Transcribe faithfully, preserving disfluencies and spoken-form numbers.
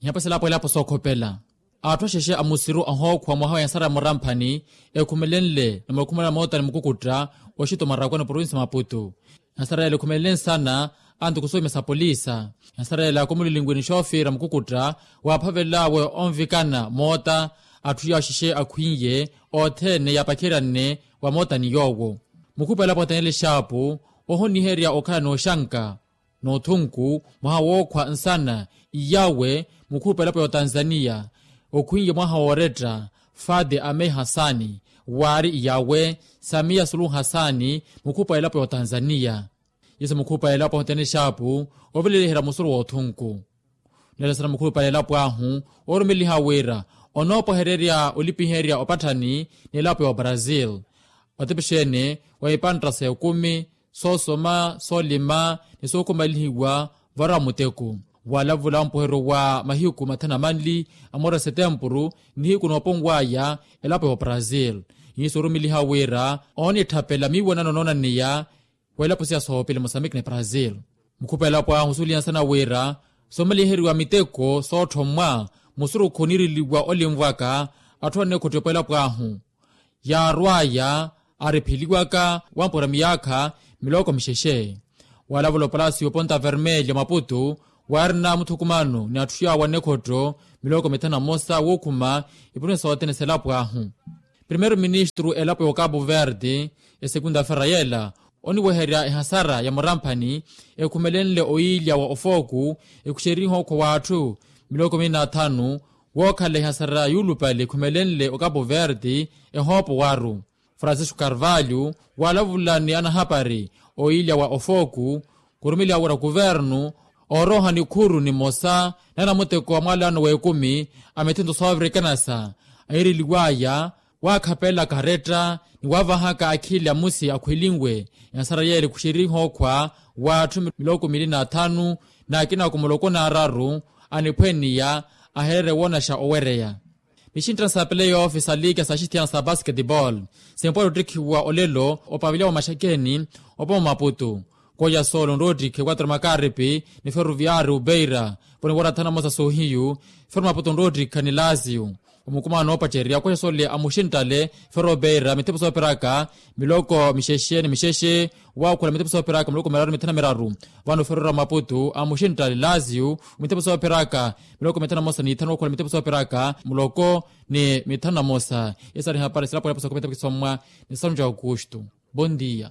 Nihapwesa elapo elapo sookhopela. Atthu axexe a musiru ahookhwa mwaha wa ehansara ya muramphani ekhumelenle numero khumela moota ni mukukutta oxito marakwani provincia maputu. Ehansara yela ekhumelele nsana antuku soomya sa polisa. Ehansara yela akomulilinwini xoofiira mukukutta waaphavel'awe onvikana moota. Atthu yaawo axexe akhwiiye othene yaapakheryane wa moota ni yoowo. Mukhupa elapo atanele exaapu ohoniherya okhala n'oxanka n'othunku mwaha wookhwa nsana iyawe. Mukhupa elapo ya otanzaniya okhwiiye mwaha wooretta fade amei hasani waari iyawe samiya suluhu hasani. Mukhupa elapo ya otanzaniya yesu mukhupa elapo ahotene exaapu oveleliherya musuru w'othunku. Nlelo sana mukhupa elapo ahu orumeliha wira onoopwehererya olipiherya opatthani n'elapo ya obrasil. Otepexene wa ipantta s'ekumi soosoma soolima ni sookhumalihiwa vara muteku. Walavula mpuheryo wa mahiku mathanu na manli a mweri wa setempuru nihiku nooponw'aya elapo ya obrasil. Iiso orumeliha wira oonitthapela miiwanano noonaneya w'elapo siya soopili mosambique ni brasil. Mukhupa elapo ahu suuliyansana wira soomaliheriwa miteko sootthomwa musurukhu oniiriliwa olinvwaka atthu anneekhottiwa elapo ahu. Yaarw'aya aaripheliwaka wampwera miyaakha miloko mixexe. Walavula opalasio ponta vermelho maputu waarina muthukumano ni atthu yaawo annekhotto miloko mithanu na mosa wookhuma ipunisa sothene s'elapo ahu. Primeiro ministru elapo ya okapu verde esegunda fera yela oniweherya ehasara ya muramphani ekhumelenle oyiilya wa ofooku ekhuxerihe okhwa w'atthu miloko mili n'athanu wookhala ehasara yuulupale ekhumelenle okapu verde ehoopo waaru. Francisco carvalho waalavula ni anahapari oyiilya wa ofooku khurumeliha wira kuvernu ooroha nikhuru nimosa na namuteko wa mwalano w'ekumi a mithento soovira ekanasa ahiireliw'aya waakhapela karetta ni waavahaka akhili amusi akhwelinwe. Ehansara yeela ekhuxerihe okhwa w'atthu miloko mili n'athanu n'akinako muloko n'araru aniphweniya ahererye woonaxa owereya. Mixinttana sa playoff sa liika sa xithiyana sa basketball simpwari ottikhiwa olelo opaviliya wa maxakeni opoma maputu. Koya soolo nroottikhe quatro makaripi ni ferroviari ubeira poni warathana mosa sohiyu. Ferro maputu nroottikha ni lazio omukumano noopacerya koya soole a muxinttale ferro ubeira mithepo soopiraka miloko mixexe ni mixexe. Waakhula mithepo soopiraka miloko miraru ni mithanu na miraru. Vano ferro ra maputu a muxinttale lazio mithepo soopiraka miloko mithanu na mosa ni ithanu wakhula mithepo soopiraka muloko ni mithanu na mosa. Esari hapari silapo yapo sa khumita pikisomwa ni sanu ja aukustu. Bon dia.